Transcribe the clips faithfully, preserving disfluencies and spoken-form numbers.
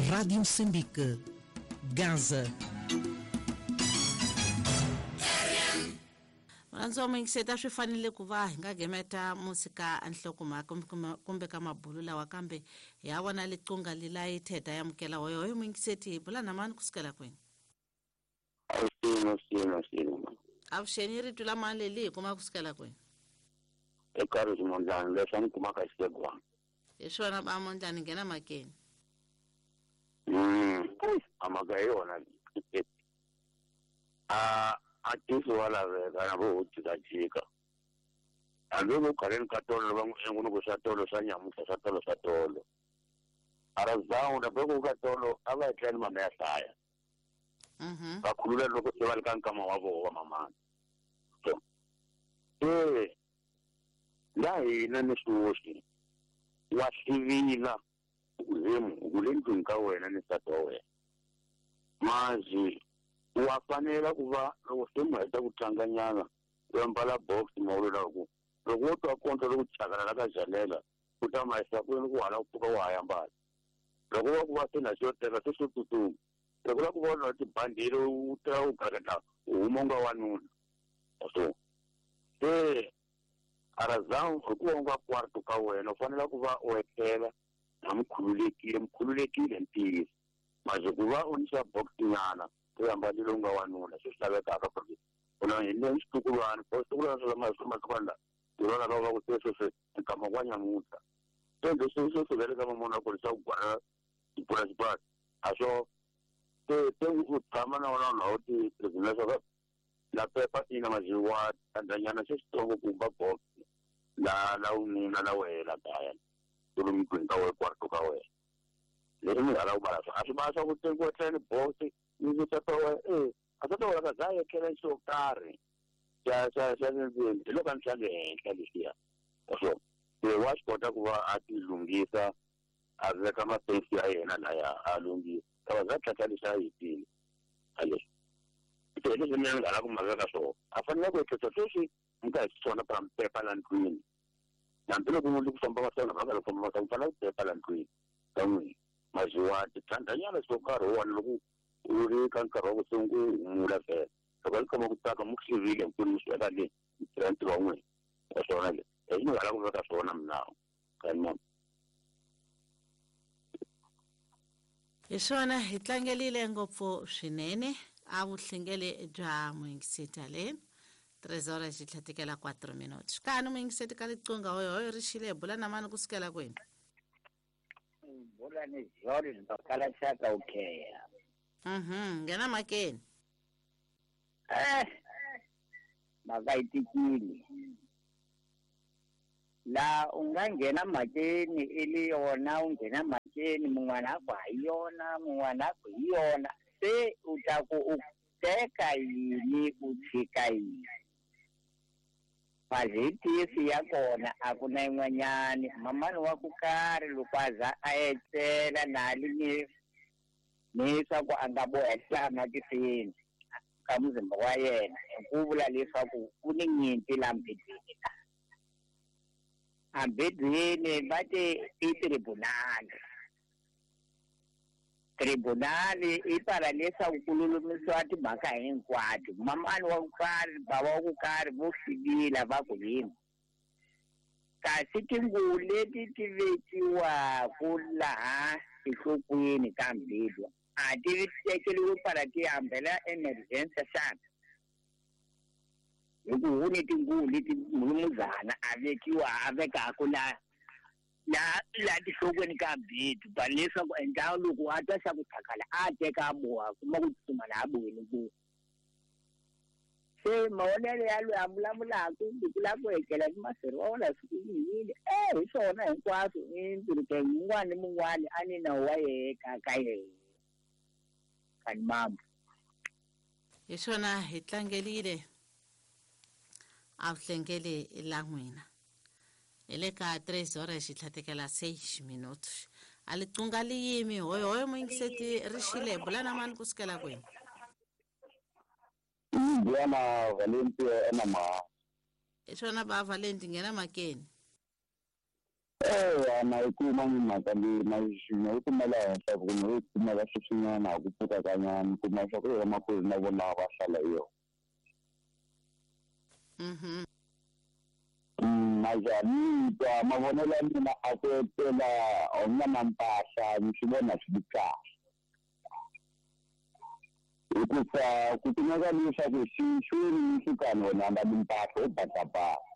Rádio Moçambique, Gaza. Murhandzi wa muyingiseti a swi fanele ku va hi nga gemeta musika enhlokomhaka kumbe ka mabulu lawa kambe hi ya vona liqunga lilayi theta ya mukela hoyo hoyo muyingiseti hi bula na mani kusukela kwini? Avuxeni, avuxeni, avuxeni. Avuxeni, rito la mani leli hi kuma kusukela kwini? Eka Rizimondlani, leswi a ni kumaka xisegwana. Hi swona ba Mondlani, nghena makeni. Mm, a mhaka hi yona. A a tisi wa laveka na vo jikajika. Hambi ku khaleni ka tolo va n'wi engu ku swa tolo swa nyamutlha swa tolo swa tolo. Ara zawu na ku ka tolo a va etleli mama ya hlaya. Mhm. Va khulula loko se va le ka nkama wa voho wa mamana. So, eh la hina ni swoswi wa hlivila ku ku le ndlwini ka wena ni nsati wa wena. Mazi wa fanela ku va loko se mi heta ku tlanganyana u ambala box mawulela ku loko wo twa konto loko chakalala ka jalela u ta ma yisa kwini ku hala ku pfuka wa ha yambala. Loko va ku va se na xo teka se swo tsutsuma. Loko la ku vona tibandhile u ta u gagata u huma u nga wanuna. So se arazawu hikuva u nga kwarto ka wena u fanele ku va u etlela na mukhululekile mukhululekile ntiyiso. Maze ku va u ni xa box nyana u ambalile u nga wanuna swi lavekaka ku ri u na hi le xitukulwana bo xitukulwana swa masiku la hi vona va va ku se sweswi nkama wa nyamutlha. Se leswi swi swi ka mamona ku ri swa ku gwala tipurasipurasi a swo se se u tshama na wona na u ti leswaku la pepa ina maziwa tandanyana se xitsongo kumba box la la ununa la wena kaya ku ri ndlwini ka wena kwarto ka wena. Leswi mi nga la ku bala a swi ba swa ku tekiwa tlhelo box ni sata wa eh a sata wa ka zaya tlhelo xo karhi xa xa xa ndzeni hi loko a ni xa le henhla lexiya. So se wa swi kota ku va a ti lunghisa a veka mapesi ya yena laya a lunghisa ka va za tlhela lexi a hetile a leswi se leswi mina ni nga la ku ma veka swona a fanele ku ehleketa sweswi mi ka hi swona pa pepa la ndlwini. Hambiloko munhu ku famba va swona va nga famba va fanele ku pepa la ndlwini ka n'wina maziwa tithandanyana swo karhi wa loko u ri ka nkarhi wa ku sungula vhele loko ni khoma ku tsaka mu hlivile nkulu mi sweka le mi tirha ntirho wa n'wina wa swona le leswi ni nga la ku veka swona minawu ka hi swona hi tlangelile ngopfu swinene a vuhlengele bya muyingiseti le tres horas xi tlhatikela quatro minutos kani muyingiseti ka liqunga hoyo hoyo ri xile bula na mani kusukela kwini? Bula ni Jordan bakala xaka ukheya. Mhm, nghena makeni. Eh mhaka yi tikile la u nga nghena makeni i le yona u nghena makeni mun'wana a ku ha yona mun'wana a ku hi yona se u ta ku u teka yini u tshika yini. Mazitisi ya kona a ku na yin'wanyani mamani wa ku karhi loko a za a etlela nali ni ni swa ku a nga bohela matisini ka muzimba wa yena hi ku vula leswaku ku ni nyimpi la mbedweni la. Ambedweni va te i tribunal. Tribunal i pala leswaku ku lulamisiwa timhaka hinkwato. Mamani wa ku karhi bava wa ku karhi vo hlivila va ku yini. Kasi tinguvu leti ti vekiwaku laha enhlokweni ka mbilu a ti tekeriwi pala ti hambela emergency xana? Hi ku hu ni tinguvu leti mulumuzana a vekiwa a vekaku la la la tinhlokweni ka mbilu pa leswaku endla loko a twa xa ku tshakala a teka a boha kuma ku tsutsuma laha boheni ku. Se mavonelo ya loyi a vulavulaka hi ku lava ku etlela ni masirhi wa wona siku yini eh hi swona hinkwaswo i ntirho mun'wana ni mun'wana a ni nawu wa yehe ka ka yehe kani mama. Hi swona hi tlangelile a vuhlengele la n'wina hi le ka tres horas xi tlhatikela seis minutos a liqunga li yimi hoyo hoyo muyingiseti ri xile bula na mani kusukela kwini? Bwana Valente ena ma. Hi swona ba Valente nghena makeni. Eh na yi kuma mhaka leyi na na yi kumela henhla ku no yi kumela sweswinyana ku pfuka ka nyana kuma swa ku vamakwerhu na vona va hlala hi yona. Mhm. Na njhani twa mavonelo ya mina a ku etlela u nga na mpahla ni swi vona swi ri kahle. Hikuva ku kumeka leswaku xi xi ri xikani wena ambali mpahla u basabasa.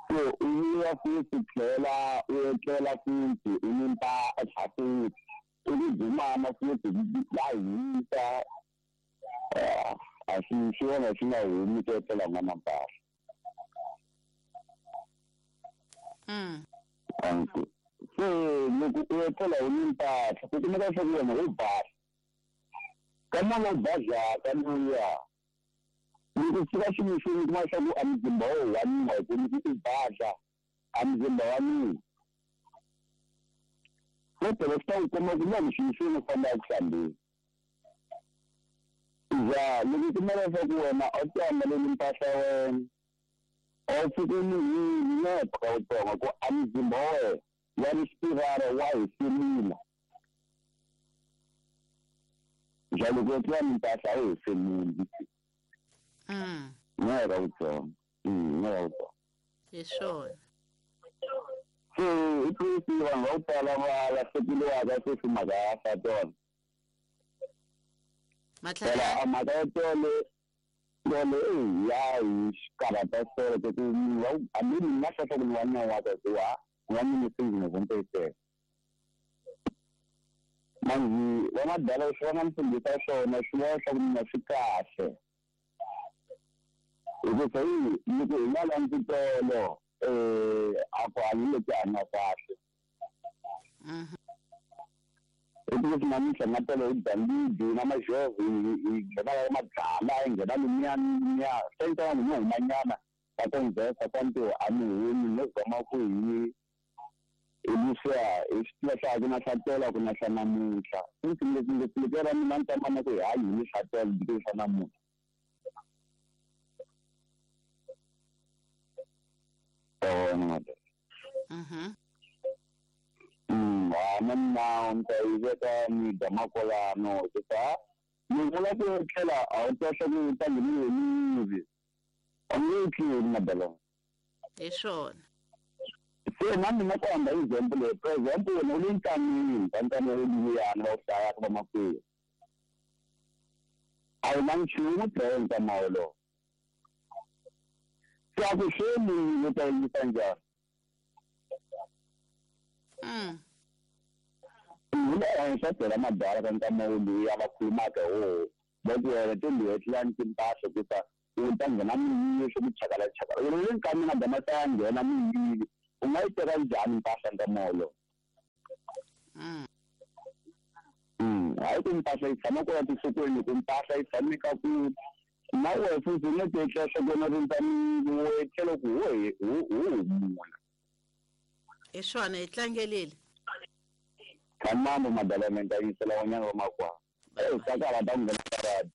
So u vuya futhi tlhela u etlela futhi u ni mpahla futhi u ni dzumana futhi la hisa a swi swi vona swi nga humi ku etlela u nga na mpahla. Mm. Se loko u etlela u ni mpahla ku kumeka leswaku wena u basa. Ka n'wana u bazaka luya loko fika ximixini kuma leswaku a muzimba wo wa nina hi ku loko u baza a muzimba wa nina kodwa swi ta ku komba ku na ximixini u famba eku hlambeni. Ya loko u kuma leswaku wena a wu ti ambaleli mpahla ya wena a wu pfuki u nuhile ka wutsongo ku a muzimba wa wena wa rispirara wa hefemula. Ja loko u etlela ni mpahla a wu hefemuli. Mm. Ngeke utsongo. Mm, ngeke utsongo. Hi swona. Se i twisi vanhu va ku tala va lahlekeriwaka sweswi mhaka ya swa tona. Phela a mhaka ya tolo tolo e ya hi xikarhata solo ku munhu wa hambi ni nga hlahla ku ni wa nyawaka hikuva ni wa mini se manjhe va madala leswi va nga ni fundisa swona swi vona swa ku mina swi kahle. Hikuva yi loko hi nga landzi tolo eh a ku hanyi leti hanya kahle. Mhm. Hikuva namuntlha nga tolo hi dambidi na majovhi hi nghena ka mabyala hi nghena lumiya lumiya se ni vanhu no humanyana va conversa ka ntirho a ni humi no zama ku hi hi leswiya hi swi tiva swa ku na swa tolo a ku na swa namuntlha. Futhi ngopfungopfu loko ra mina ni tama ku hi hanyi hi swa tolo hi swa namuntlha. Mhm. Mm, na mina ni ta yi veka ni dya makolano hikuva ni vula ku etlela a wu twa swa ku u ta ngheniwe hi miri a nge etleli madalona. Hi swona. Se na mina ku hamba example leyi for example wena u le nkamini ka nkama lowuyani va wu hlayaka vamakwerhu a wu na nchumu dlaya nkama wolowo. Se a ku hleli u ta endlisa njhani? Mm. Hi le henhla byela madala ka nkama woluya va khulumaka hi woho va ku wena to etlela ni timpahla hikuva u ta nghena miyili swo ku chakalachakala. Wena u le nkamini a dama ta ya nghena miyili u nga yi teka njhani mpahla nkama wolowo? Mm. Mm, hayi ku mpahla yi tshama kwala tinhlokweni loko mpahla yi tshame ka ku na wena futhi u nga ti etlela swa ku wena rindza miyili wo etlela ku ho ho humula. Hi swona hi tlangelile. Thamambo madalana ni ta yisela van'wanyana va makwavo. Eh sakala ta nghena karate.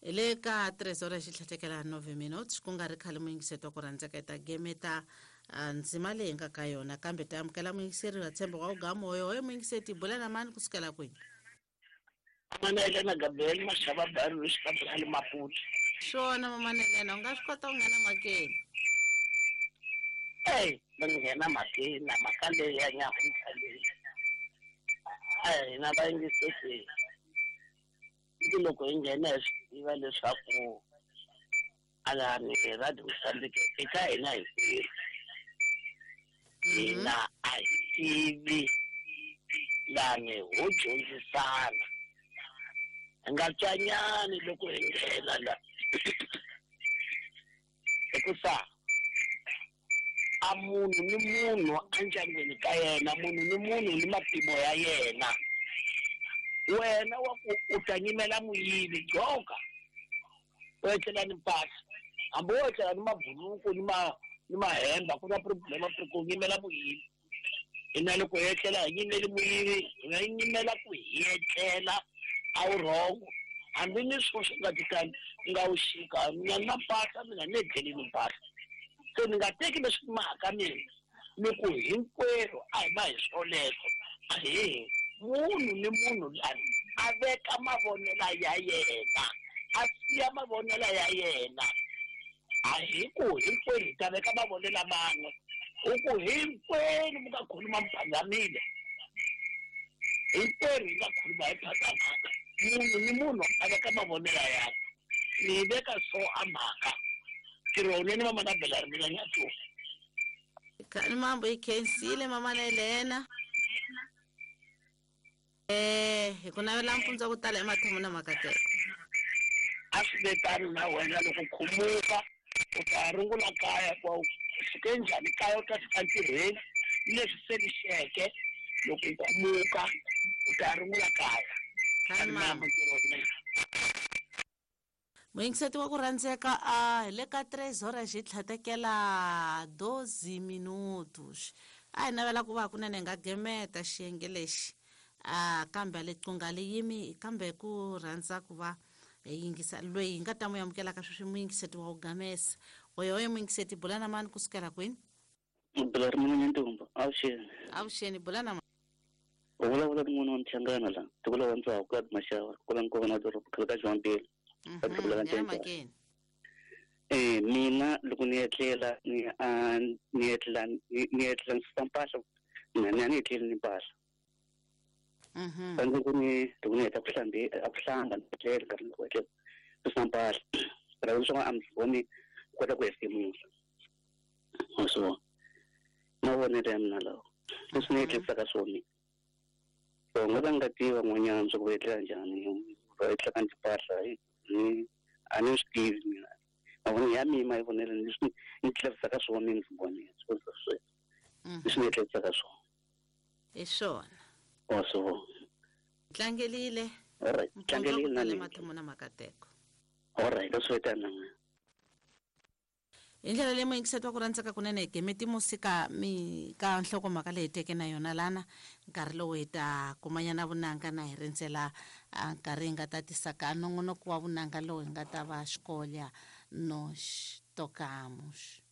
Hi le ka tres horas xitlhatekela nove minutes ku nga ri khale muyingiseti wa ku rhandzeka hi ta gemeta ndzima leyi nga ka yona kambe ta amukela muyingiseri wa tshembo wa ugamoyo hoye muyingiseti bula na mani kusukela kwini. Mana na Gabriel Mashaba Baru xikambe Maputo. Swona mama Elena u nga swi kota ku nghena makeni. Ey, va nghena makeni na mhaka leyi ya nyamuntlha leyi. A hina vayingiseri i loko hi nghena hi swi tiva leswaku alani hi Radio Mozambique eka hina hinkwerhu hina a hi tivi lani ho dyondzisana hi nga tswanyani loko hi nghena la hikusa a munhu ni munhu endyangwini ka yena munhu ni munhu ni mapimo ya yena. Wena wa ku u ta nyimela muyivi joka u etlela ni mpahla hambi wo etlela ni mabuluku ni ma ni mahemba ku na problema ku nyimela muyivi. Hina loko hi etlela hi nyimeli muyivi hi nga nyimela ku hi etlela a wu wrong hambi ni swilo swi nga titani nga wu xika mina na mpahla mina ni etlelini mpahla. Se ni nga teki leswi mhaka mina Ni ku hinkwerhu a hi ma hi swoleswo a hi munhu ni munhu lani a veka mavonelo ya yena a siya mavonelo ya yena a hi ku hinkwenu hi ta veka mavonelo man'we u ku hinkwenu mi nga khuluma mi phazamile hinkwenu hi nga khuluma hi phazamaka munhu ni munhu a veka mavonelo yakwe ni veka so a mhaka ntirho mama na bela ri mina nyatso kani mambo ikhensile mama na Elena eh hi ku navela mpfundza ku tala emathemo na makateko a swi ve tano na wena loko khumuka u ta rungula kaya kwa u fike njhani kaya u ta fika ntirhweni ni leswi se lixeke loko u khumuka u ta rungula kaya kani mambo ntirho wunene muyingiseti wa ku rhandzeka a hi le ka tres horas hi tlhatekela doze minutos a hi navela ku va hakunene hi nga gemeta xiyenge lexi a kambe liqunga li yimi kambe ku rhandza ku va hi yingisa loyi hi nga ta n'wi amukelaka sweswi muyingiseti wa ku gamesa oyo oyo muyingiseti bula na mani kusukela kwini bula ri mina Nyantumba avuxeni avuxeni bula na mani u vulavula ni n'wana wa Mchangana la tiko la Ndzhawu ka Maxava kwala Nkovana doroba khale ka Jwampele mm-hmm. Eh mina loko ni etlela ni a ni etlela ni etlela ni susa mpahla mina a ni etleli ni mpahla mhm fanele ku ni loko ni heta ku hlambe a ku hlamba ni etlela nkarhi ni ku etlela susa mpahla ra leswaku a mi voni kota ku hefemula so mavonelo ya mina lawa leswi ni etlelisaka swona so nga va nga tivi van'wanyana swa ku va etlela njhani va etlelaka ni timpahla ni a ni swi tivi mina mavonelo ya mina mavonelo leswi ni tlelisaka swona ni swi vonile sweswo leswi ni etlelisaka swona hi swona o so tlangelile alright tlangelile na mina mathomo na makateko alright swi tana hi ndlela leyi muyingiseti wa ku rhandzeka kunene hi gemeti musika mi ka nhlokomhaka leyi teke na yona lana nkarhi lowu hi ta kumanyana vunanga na hi rindzela nkarhi hi nga ta tisaka nongonoko wa vunanga lowu hi nga ta va xikolya no tocamos.